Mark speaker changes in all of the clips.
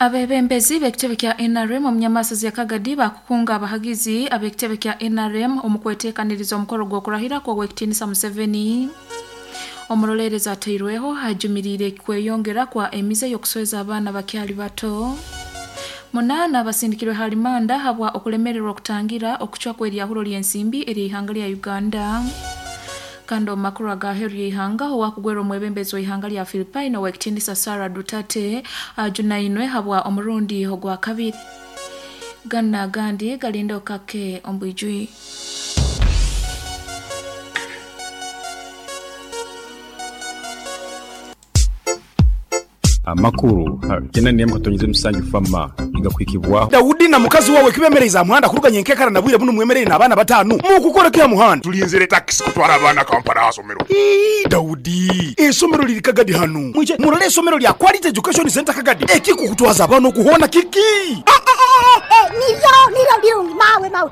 Speaker 1: Abebembezi b'ekitebe kya NRM omu Nyamasazi ya Kagadi bakukunga abahagizi ab'ekitebe kya NRM omu kweteekaniriza omukoro gw'okurahira kw'Owekitinisa Museveni. Omuroleerezi atairweho ajumiriire kweyongera kwa emize y'okusweza abaana bakyali bato. Munaana basindikirwe ha rimanda habwa okulemererwa okutangira okucwa kw'eryahuro ly'ensimbi ery'eihanga lya Uganda. Kandi omu makuru ag'aheeru y'eihanga, owakugwera omwebembezi w'eihanga lya Philippine Owekitinisa Sara Duterte ajunainwe habwa omurundi ogwakabiri. Ganu n'agandi galinde okake omu bwijwire.
Speaker 2: Amakuru ha kyenda n'emu katonyeza emusanju FAMA nigakuhikibwaho.
Speaker 3: Daudi na mukazi wawe kibemereize aha muhanda kuruga nyenkekara na bwire bunu mwemereire n'abaana bataanu. Mukukora ki aha muhanda?
Speaker 4: Tulinzire takisi kutwara abaana Kampala aha somero.
Speaker 3: Ii, Daudi, eisomero liri Kagadi hanu. Mwije murole eisomero lya Quality Education Centre Kagadi. Ekikukutwaza abaana okuhoona kiki?
Speaker 5: Niryo, niryo birungi mawe mawe.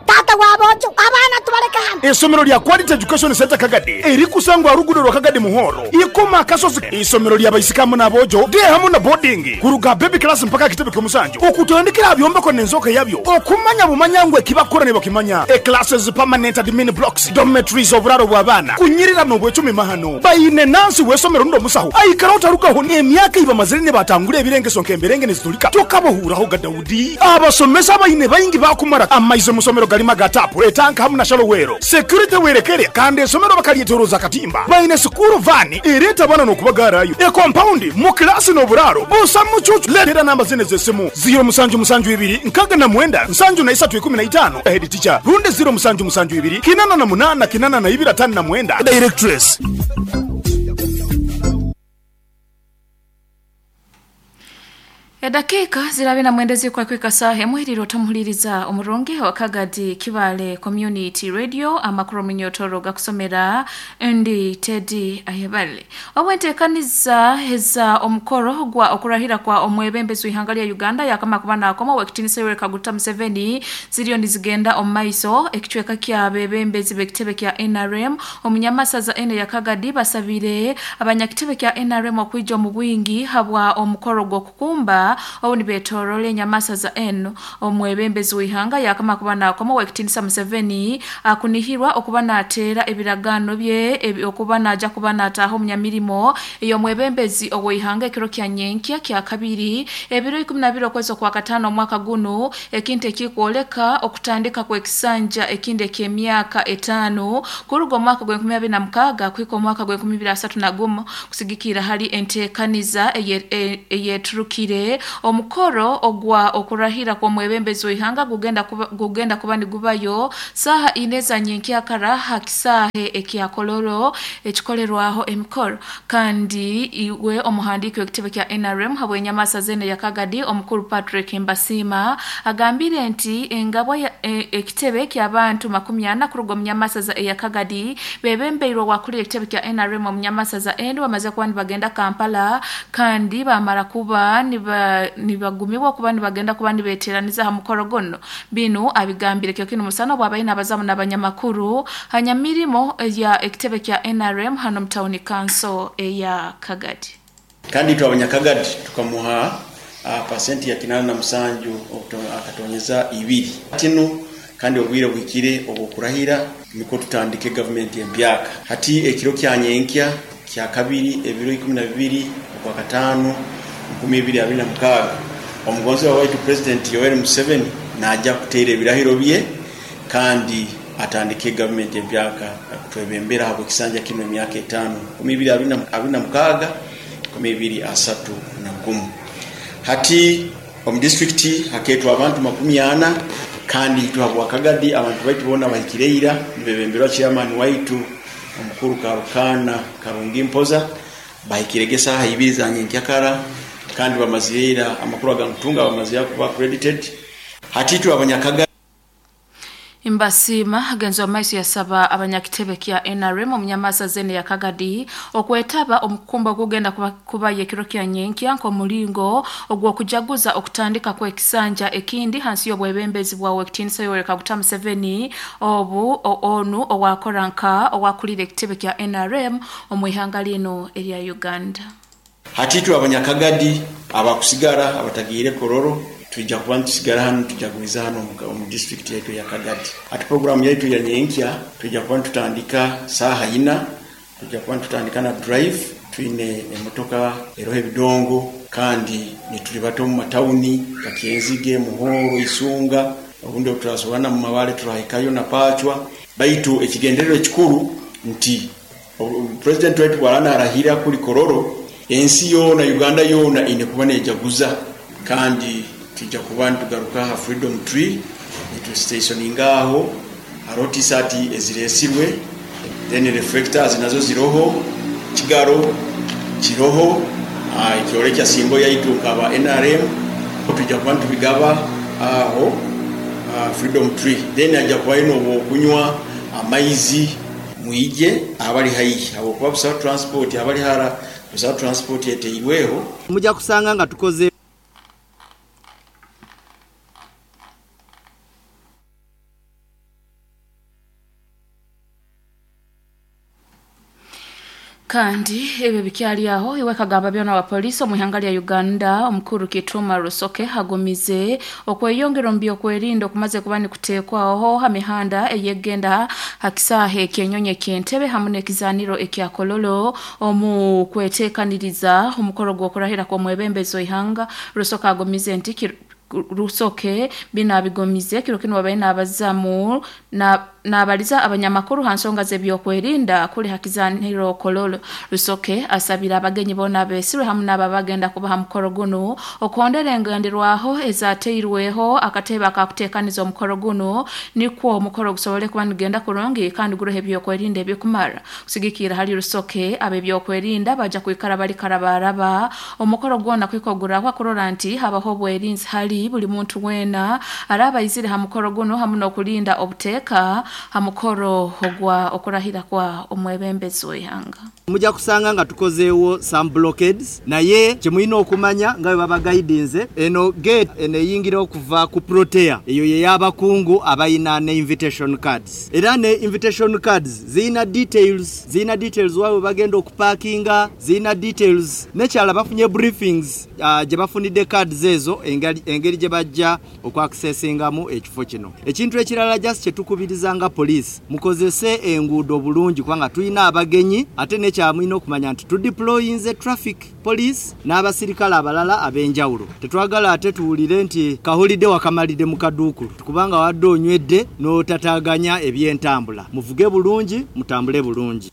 Speaker 5: Taata wa boojo, abaana tubaleke hanu.
Speaker 3: Eisomero lya Quality Education Centre Kagadi erikusangwa aha ruguudo rwa Kagadi Muhoro, Ikoma Akasozi. Eisomero lya baisiki hamu n'aboojo, day hamu na boarding, kuruga aha baby class mpaka aha kitebe ky'omusanju, okutandikira aha byombeko n'enzooka yabyo, okumanya bumanya ngu ekibakukora nibakimanya. E Classes, permanent admin blocks, dormitories, oburaaro bw'abaana, kunyirira n'obwecumi mahano. Baine nansi w'eisomero rundi omusaho aikara otarugaho n'emyaka ei bamazire nibatangura ebirengeso nk'emberenge nizitulika tokabahuuraho ga Daudi. Abasomesa abaine baingi baakumara amaizi omu somero galimu aga taapu, etanka hamu na shalowero. Security werekere kandi esomero bakalyetoroza akatimba. Baine sikuuru vaani ereeta abaana n'okubagaarayo. Ekompaundi mu kilaasi n'oburaaro busa mucuucu. Leetera namba zinu ez'esimu, ziiro musanju musanju ibiri nkaaga na mwenda nsanju na isatu ikumi na itaano, Head teacher, rundi ziiro musanju musanju ibiri kinana na munaana kinana na ibiri ataano na mwenda, Directress.
Speaker 1: Edakiika ziri na mwenda ezirikweka saaha emwe erire otamuhuliriza omurungi wa Kagadi Kibaale Community Radio amakuru omunyotoro gakusomera ndi Teddy Ayebale. Obwenteekaniza eza omukoro gwa okurahira kwa omwebembezi w'ihanga lya Uganda yakama kuba nakoma Owekitinisa Yoweri Kaguta Museveni ziriyo nizigenda omu maiso ekicweka ky'abebembezi b'ekitebe kya NRM omunyamasaza ene ya Kagadi basabire abanyakitebe kya NRM okwija omu bwingi habwa omukoro gw'okukumba obu nibetorora enyamasaza enu. Omwebembezi w'ihanga yakama kuba nakoma Owekitinisa Museveni akunihirwa okuba nateera ebiragaano bye okuba naja kuba nataaha omunyamirimo ey'omwebembezi ow'ihanga ekiro kya nyenkya kya kabiri ebiro ikumi na bibiri okwezi okwa kataano omwaka gunu, ekintu ekikwoleka okutandika kw'ekisanja ekindi eky'emyaka etaano kuruga omwaka gw'enkumi abiri na mukaaga kuhika omwaka gw'enkumi ibiri asatu na gumu. Kusigikirra hali enteekaniza eyeturukire, omukoro ogwa okurahira kw'omwebembezi w'ihanga gugenda kuba nigubayo saaha ina eza nyenkyakara ha kisaahe ekya Kololo ekikolerwaho emikoro. Kandi iwe omuhandiiki w'ekitebe kya NRM habw'enyamasa z'eno ya Kagadi omukuru Patrick Mbasiima agambire nti engabwa ekitebe ky'abantu makumi ana kuruga omu nyamasaza eya Kagadi bebembeirwe owakulira ekitebe kya NRM omu nyamasaza enu bamaze kuba nibagenda Kampala kandi bamara kuba nibagumibwa kuba nibagenda kuba nibeteraniza ha mukoro guno. Binu abigambire kyo kinu musana obwabaire nabazamu n'abanyamakuru ha nyamirimo ya ekitebe kya NRM hano mu town council eya Kagadi.
Speaker 6: Kandi itwe Abanyakagadi tukamuha pasenti ya kinana na musanju akatonyeza ibiri. Kinu kandi obwire buhikire obw'okurahira nukwo tutandike gavumenti empyaka. Hati ekiro kya nyenkya kya kabiri ebiro 12 Okwakataano 2026, omugonzebwa waitu Purezidenti Yoweri Museveni naija kuteera ebirahiro bye kandi atandike gavumenti empyaka kutwebembera ahabw'ekisanja kinu emyaka etaano, 2026, 2031. Hati omu disiturikiti hakeetwa abantu 40 kandi itwe habwa Kagadi abantu baitu boona bahikire ira nibebemberwa Chairman waitu omukuru Karukaana Karungi Mpoza. Bahikirege esaaha ibiri za nyenkyakara kandi bamazire ira amakuru agankutunga bamazire kuba accredited. Hati itwe Abanyakagadi.
Speaker 1: Mbasiima agenzi wa maiso yasaba abanyakitebe kya NRM omunyamasa zene ya Kagadi okwetaba omukukumba ogugenda kuba ekiro kya nyenkya nk'omulingo ogw'okujaguza okutandika kw'ekisanja ekindi hansi y'obwebembezi bwa Owekitinisa Yoweri Kaguta Museveni obu onu owakora nka owakulira ekitebe kya NRM omu ihanga linu erya Uganda.
Speaker 6: Hati itwe Abanyakagadi Abakusigara abatagiire Kololo tujja kuba nitusigara hanu, tujaguliza hanu omu district yaitu ya Kagadi. Ati programu yaitu ya nyenkya tujja kuba nitutandika saaha 4, tujja kuba nitutandika na drive, twine emotoka eroho ebidongo kandi nitulibata omu matawuni Kakyenzige, Muhoro, Isunga, obundi turasobora mu Mabale turahikayo na Pachwa. Baitu ekigendererwa ekikuru nti President waitu bw'araba narahira kuli Kololo, ensi yoona Uganda yoona ine kuba nejaguza, kandi tujja kuba nitugaruka ha Freedom Tree nitustationinga aho hariho t-shirt eziresirwe, then reflectors nazo ziroho, kigaro kiroho, ekyorekya simbo yaitu nkaba NRM, tujja kuba nitubigaba aho Freedom Tree. Then ajja kuba ino obwokunywa amaizi mwije abali haihi habwokuba busaho transport, abali hara busaho transport eteirweho.
Speaker 7: Mujja kusanga nga tukoze
Speaker 1: Kandi ebyo bikyali aho iwe kagamba byona wa polisi omu ihanga lya Uganda omukuru Kituma Rusoke hagumize okweyongera mu byokwerinda okumaze kuba nikuteekwaho ha mihanda eyegenda hakisahe ekyenyonyi eky'Entebe hamu n'ekizaniro ekya Kololo omu kweteekaniriza omukoro gw'okurahira kw'omwebembezi w'ihanga. Rusoke agumize nti Rusoke binabigomize kiro kino babaye nabazamu na nabaliza abanyamakuru ha nsonga z'ebyokwerinda kuli hakizaniro Kololo. Rusoke asabira abagenyi bona besirwe hamu n'ababagenda kubaha mukoro guno okondera engenderwaho ezateirweho akatebe akakuteekaniza omukoro guno nikwo omukoro gusobole kuba nigenda kurungi kandi gurohe ebyokwerinda ebyokumara. Kusigikira hali Rusoke ab'ebyokwerinda baja kwikara bali karabaraba omukoro gwona kwikogurahwa kurora nti habaho obwerinzi hali buli muntu wena araba izire ha mukoro guno hamu n'okulinda obuteeka ha mukoro ogwa okurahira kwa omwebembezi w'ihanga.
Speaker 7: Mujja kusanga nga tukozeewo some blockades, naye kyemulina okumanya nga bwe babagaidinze eno gate eno eyingira okuva ku Protea eyo ye y'abakungu abayina ne invitation cards, era ne invitation cards ziyina details, waabwe bagenda okupakinga, ziyina details nekyala bafunye briefings gye bafunidde cards ezo engeri gye bajja okwakisesingamu ekifo kino. Ekintu ekirala just kyetukubiriza nga police mukozese enguudo bulungi kubanga tulina abagenyi, ate nekyamulina okumanya nti tudeployinze traffic police n'abasirikale abalala ab'enjawulo. Tetwagala ate tuwulire nti kahulidde wakamalidde mu kaduukulu kubanga wadde onywedde n'otataganya ebyentambula. Muvuge bulungi, mutambule bulungi.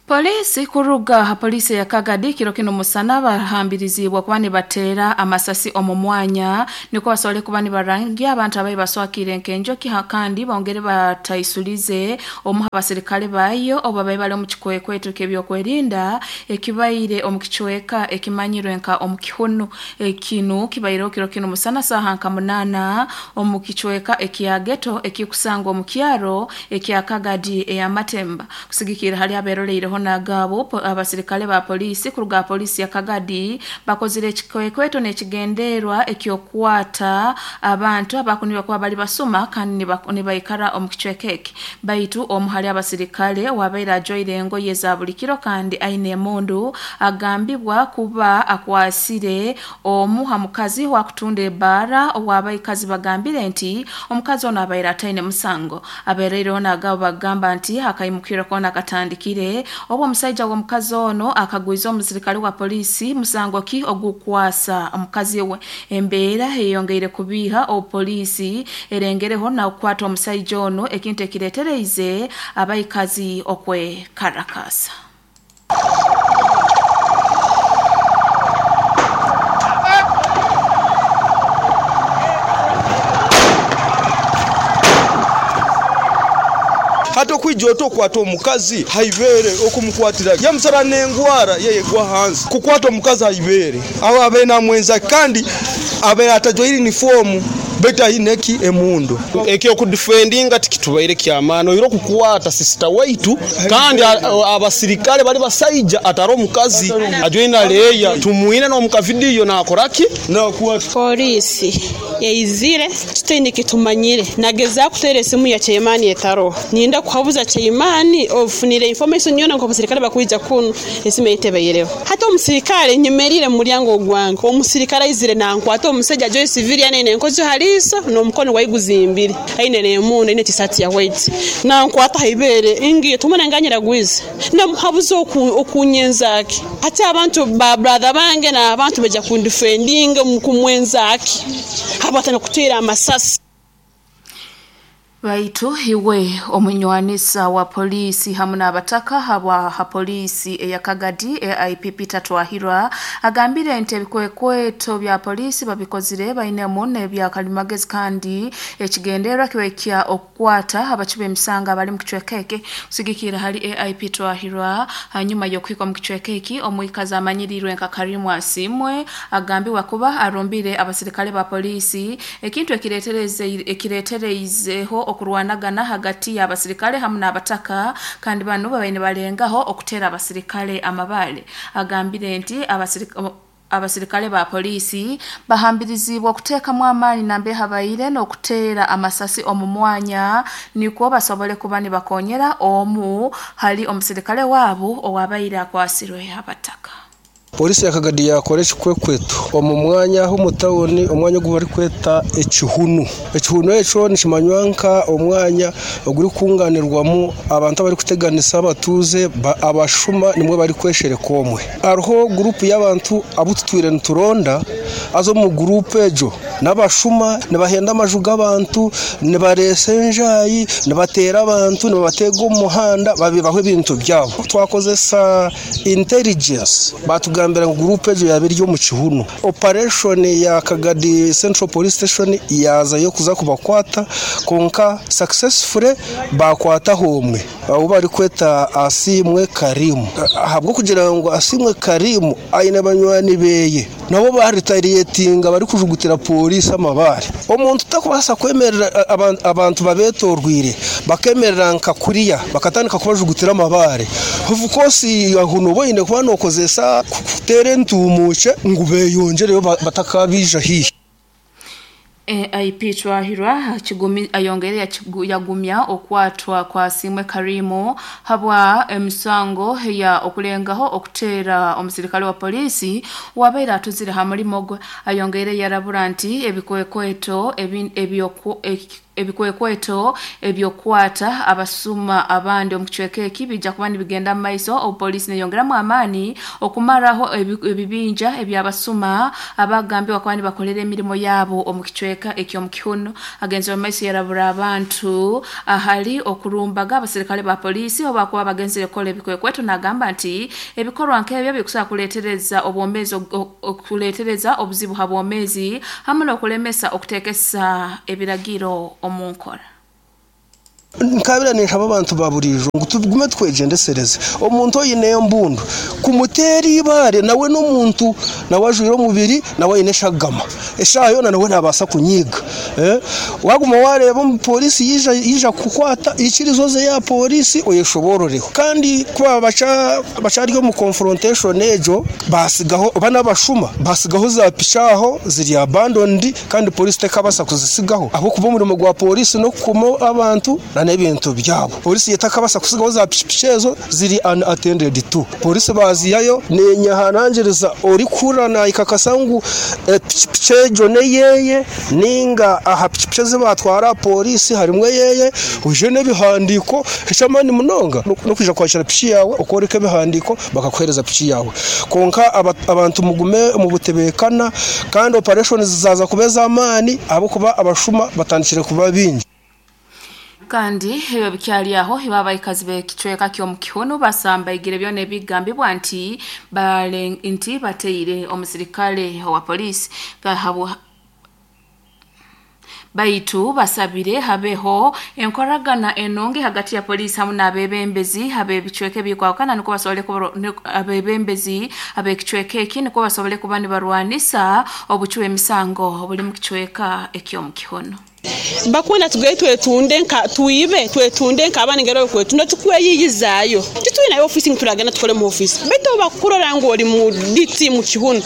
Speaker 1: Polisi kuruga ha polisi ya Kagadi kiro kino musana bahambirizibwa kuba nibatera amasasi omu mwanya niko basobole kuba nibarangia abantu abayi baswakire nkenjoki kandi bongere bataisulize omu abasirikale bayo oba bayi bali omu kikwekweto ky'ebyokwerinda ekibaire omu kicweka ekimanyirwe nka omu kihunu ekinu kibaireho kiro kino musana saha nka 8 omu kicweka ekya ghetto ekikusangwa omu kyaro ekya Kagadi ey'Amatemba. Kusigikira hali aberoleireho nagabo abasirikale ba polisi kuruga polisi ya Kagadi bakozire ekikwekweto n'ekigenderwa ekyokwata abantu abakunirwa kuba bali basuma kandi nibaikara omu kicweka eki. Baitu omu hali abasirikale wabaire ajwaire engoye za buli kiro kandi aine emundu agambibwa kuba akwasire omu ha mukazi wakutunda ebara owabaikazi bagambire nti omukazi ono abaire ataine musango. Abereireho nagabo bagamba nti akaimukira kona katandikire obu omusajja w'omukazi ono akagwiza omusirikale wa polisi musango ki ogukwasa omukazi we. Embeera eyongeire kubiha opolisi erengereho na okukwata omusajja ono ekintu ekiretereize abaikazi okwekarakasa.
Speaker 8: Hata okwijja otokwata omukazi haibere okumukwatira yamusara n'engwara yeyegwa hansi kukwata omukazi haibere aho abe namwenza kandi abe atajwaire uniform. Baitu aine eki emundu.
Speaker 9: Ekyokudifendinga tikitubaire kyamaani oire okukwata sisita waitu kandi abasirikale bali basaija atari omukazi ajoina leya tumwine n'omuka vidiyo nakoraki.
Speaker 10: Poliisi eizire tutaine kitumanyire. Nagezaho kuteera esimu ya chairman etaroho. Ninda kuhabuza chairman ofunire information yoona ngu abasirikale bakwija kunu esimu eye tebaireho. Hati omusirikale nyemerire mu mulyango gwange, omusirikale aizire nankwata omusaija ajwaire civilian aine enkojo ha liiso n'omukono gwaye guzimbire, aine n'emundu, aine t-shirt ya white. Nankwata ha ibeere ngiye tumuna nganyiragwize. Namuhabuza okunyenzaki. Hati abantu ba brother bange n'abantu baija kundifendinga kumwenzaki habwatandika kuteera amasasi.
Speaker 1: Baitu iwe omunywanisa wa polisi hamu n'abataka habwa ha polisi eya Kagadi AIP Peter Twahirwa agambire nti ebikwekweto bya polisi babikozire bainemu n'ebya kalimagezi kandi ekigendererwa kibe kya okukwata abaci b'emisango abali mu kicweka eki. Kusigikira hali AIP Twahirwa hanyuma y'okuhika omu kicweka eki omwikazi amanyirirwe nka Karimu Asimwe agambibwa kuba arumbire abasirikale ba polisi ekintu ekiretereizeho okurwanagana hagati y'abasirikale hamu n'abataka kandi banu babaire nibalengaho okuteera abasirikale amabaale. Agambire nti abasirikale ba polisi bahambirizibwa okuteekamu amaani nambe habaire n'okuteera amasasi omu mwanya nikwo basobole kuba nibakonyera omu hali omusirikale waabo owabaire akwasirwe abataka.
Speaker 8: Polisi ya Kagadi yakora ekikwekweto omu mwanya aho mu tawuni, omwanya ogu barikweta ekihunu. Ekihunu ekyo nikimanywa nka omwanya ogurikunganirwamu abantu abarikuteganisa abatuuze abashuma nimwe barikweshereka omwe. Hariho gurupu y'abantu abu tutwire nituronda haza omu gurupu egyo n'abashuma nibahenda amaju g'abantu, nibareesa enjaayi, nibateera abantu, nibabateega omu muhanda babibaho ebintu byabo. Twakozesa intelligence batugambira ngu gurupu egyo yaba eri omu kihunu. Operation ya Kagadi Central Police Station yazayo kuza kubakwata konka successfully bakwataho omwe abu barikweta Asimwe Karimu. Ahabw'okugira ngu Asimwe Karimu aine banywani beye nabo baretaliatinga barikujugutira polisi amabaare. Omuntu takubaasa kwemerera abantu babetorwire bakemerera nka kuriya bakatandika kubajugutira amabaare. Of course aho noba oine kuba nokozesa kuteera entuumuukye ngu beyongereyo batakabija haihi.
Speaker 1: AIP Twahirwa ayongere yagumya okwatwa kwa Asimwe Karimu habwa emisango ya okulengaho okuteera omusirikale wa polisi wabaire atuzire ha mulimo gwe. Ayongere yarabura nti ebikwekweto ebyokwata abasuma abandi omu kicweka eki bijja kuba nibigenda mu maiso. Obupoliisi neyongeramu amaani okumaraho ebibinja ebyabasuma abagambibwa kuba nibakolera emirimo yaabo omu kicweka eky'omu kihunu. Agenzire mu maiso yarabura abantu ahali okurumbaga abasirikale ba polisi obu bakuba bagenzire kukola ebikwekweto, nagamba nti ebikorwa nk'ebyo bikusobola kuleetereza obwomeezi okuleetereza obuzibu ha bwomeezi hamu n'okulemesa okuteekesa ebiragiro omu nkora.
Speaker 8: Nkabira ninshaba abantu ba burijo ngu tugume twegyendesereze. Omuntu oine embundu kumuteera ibaare nawe n'omuntu nawe ajwire omubiri nawe aine eshagama eshaaha yoona nawe nabaasa kunyiga. Waguma wareeba omupolisi yija kukwata ikirizo ze ya polisi oyeshobororeho. Kandi kuba bacari omu confrontation egyo basigaho bana bashuma basigaho za pichaho ziri abandoned kandi polisi tekabasa kuzisigaho ahabw'okuba omurimo gwa polisi n'okukuma abantu n'ebintu byabo. Polisi yetakabasa kusigaho za pichipichi ezo ziri unattended to. Polisi baziyayo nenyahanangiriza orikura naikakasa ngu pichipichi egyo neyeye ninga aha pichipichi ezibatwara polisi harimwe yeye uje n'ebihandiiko ekyamani munonga n'okwija kwakira pichi yawe okworeka ebihandiiko bakakuhereza pichi yawe. Konka abantu mugume mu butebekana kandi operation zizaza kubeza amaani ahabw'okuba abashuma batandikire kuba bingi.
Speaker 1: Kandi ebyo bikyali aho abaikazi b'ekicweka ky'omu kihunu basambaigire byona ebigambibwa nti nti bateire omusirikale wa polisi Baitu basabire habeho enkoragana enungi hagati ya polisi hamu n'abebembezi ab'ebicweka ebikwawukana nukwo basobole abebembezi ab'ekicweka eki nukwo basobole kuba nibarwanisa obucwi bw'emisango obuli mu kicweka eky'omu Kihono.
Speaker 10: Bakwenda tugaye twetunde nka twibe, twetunde nk'abaana engeri okwetunda, tukweyiyizaayo. Titwinayo ofiisi ngu turagenda tukole mu ofiisi, baitu obu bakukurora ngu oli mu DT mu Kihunu,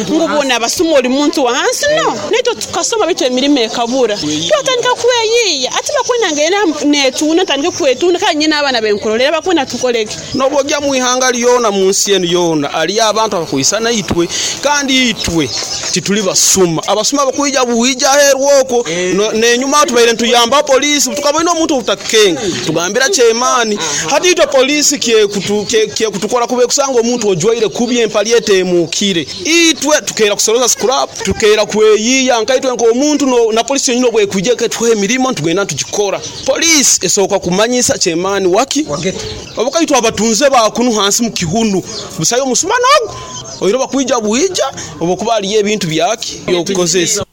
Speaker 10: ngu boona abasuma oli muntu wa hansi, no naitwe tukasoma baitu emirimo ekabura, twatandika kweyiiya. Ati bakwenda ngende netunda, ntandike kwetunda kandi nyine abaana benkurolera, bakwenda tukoleki?
Speaker 9: N'obu ojya mu ihanga lyona, mu nsi enu yoona, haliyo abantu abakwisana itwe, kandi itwe tituli basuma. Abasuma bakwija bwija aheeru okwo, n'enyuma tubaire nituyamba polisi, tukaboine omuntu obutakukenga tugambira kyemaani. Hati itwe polisi kyekutukora kuba ekusanga omuntu ojwaire kubi empali eteemukire. Itwe tukeera kusoroza scrap, tukeera kweyiiya nkaitwe nk'omuntu na polisi yonyini obwekwija eketuha emirimo nitugenda nitugikora. Polisi esooka kumanyisa kyemaani waki obukaitwe abatunze bakunu hansi mu Kihunu busayo omusuma n'ogu oiro bakwija bwija obukuba haliyo ebintu byaki by'okukozesa.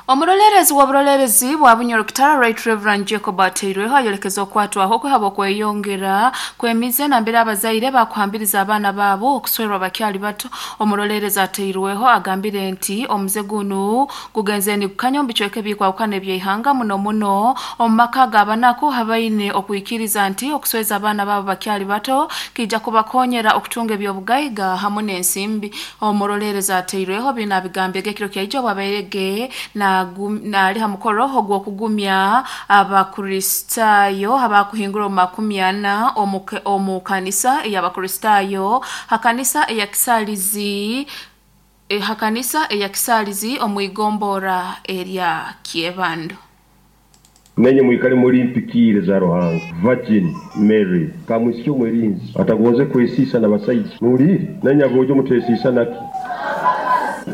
Speaker 1: Omurolerezi w'oburolerezi bwa Bunyoro Kitara Right Reverend Jacob Ateirweho ayolekeza okwatwaho kwehaba okweyongera kwemize nambere abazaire bakuhambiriza abaana baabo okuswerwa bakyali bato. Omurolerezi Ateirweho agambire nti omuze gunu gugenze nigukanya omu bicweka ebikwawukana eby'eihanga muno muno omu maka g'abanaku habaine okwikiriza nti okusweza abaana baabo bakyali bato kijja kubakonyera okutunga eby'obugaiga hamu n'ensimbi. Omurolerezi Ateirweho bino abigambye ekiro kyaijo bwabairege naali ha mukoro ogw'okugumya Abakristaayo abakuhingura omu 40 omu kanisa ey'Abakristaayo ha kanisa eya Kisalizi, ha kanisa eya Kisalizi omu igombora erya Kyebando.
Speaker 11: Nenye mwikale muri mpikire za Ruhanga. Virgin Mary kamwisiki omwerinzi atagonze kwesiisa n'abasaija. Muwulire nenye aboojo mutesiisa naki.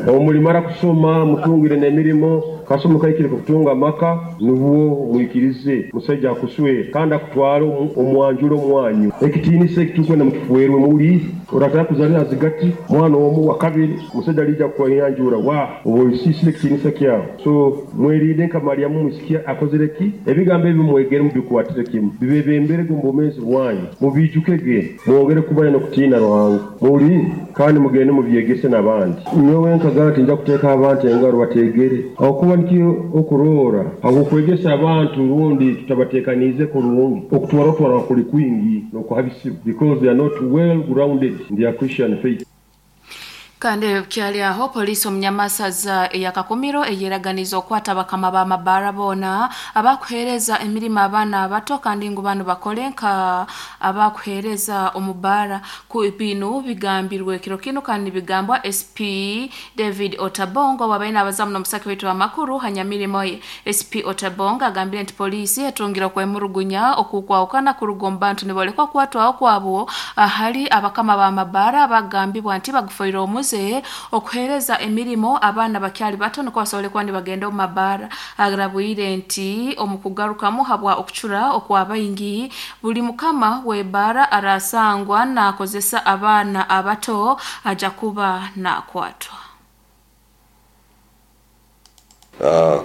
Speaker 11: Omulimara kusoma mutungire n'emirimo, kasoma kaikire kutunga amaka, nubwo mwikirize musaija akuswera kandi akutware omwanjura omwanyu. Ekitiinisa ekitukwenda mukifuerwe, muwulire. Orataka kuzalira zigati mwana omu wa kabiri, musaija alija kukwanjura wa oba oisiisire ekitiinisa kyawe. So mwerinde nka Mariamu mwisiki akozire ki? Ebigambo ebi mwegere mubikwatire kimu, bibebemberege omu bwomeezi bwanyu, mubijukege, mwongere kubanya n'okutiina Ruhanga. Muwulire kandi mugende mubyegese n'abandi. Nyowe nkagaa nti nja kuteeka abantu engaro bategere, ahakuba nikyo okuroora habw'okwegesa abantu rundi tutabateekaniize kurungi, okutwaratwara kuli kwingi n'okuhabisibwa because they are not well grounded in their Christian faith.
Speaker 1: Kandi kyali aho polisi omunyamasaza eyakakumiro eyeraganiza okwata bakama b'amabaara boona abakuheereza emirimo abaana abato kandi ngu banu bakole nka abakuheereza omu baara. Binu bigambirwe kiro kinu kandi bigambwa SP David Otabongo wabaire n'abazamu n'omusaki waitu amakuru hanyamirimo ye. SP Otabongo agambire nti polisi etungire okwemurugunya okukwawukana kuruga omu bantu nibolekwa kwatwaho kwabo ahali abakama b'amabaara abagambibwa nti bagufoire omuze okuheereza emirimo abaana bakyali bato nukwo basobole kuba nibagenda omu mabaara. Arabwire nti omu kugarukamu habwa okucura okwabaingi buli mukama w'ebaara arasangwa nakozesa abaana abato aja kuba nakwatwa.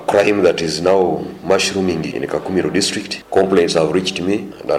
Speaker 12: Crime that is now mushrooming in Kakumiro district. Complaints have reached me that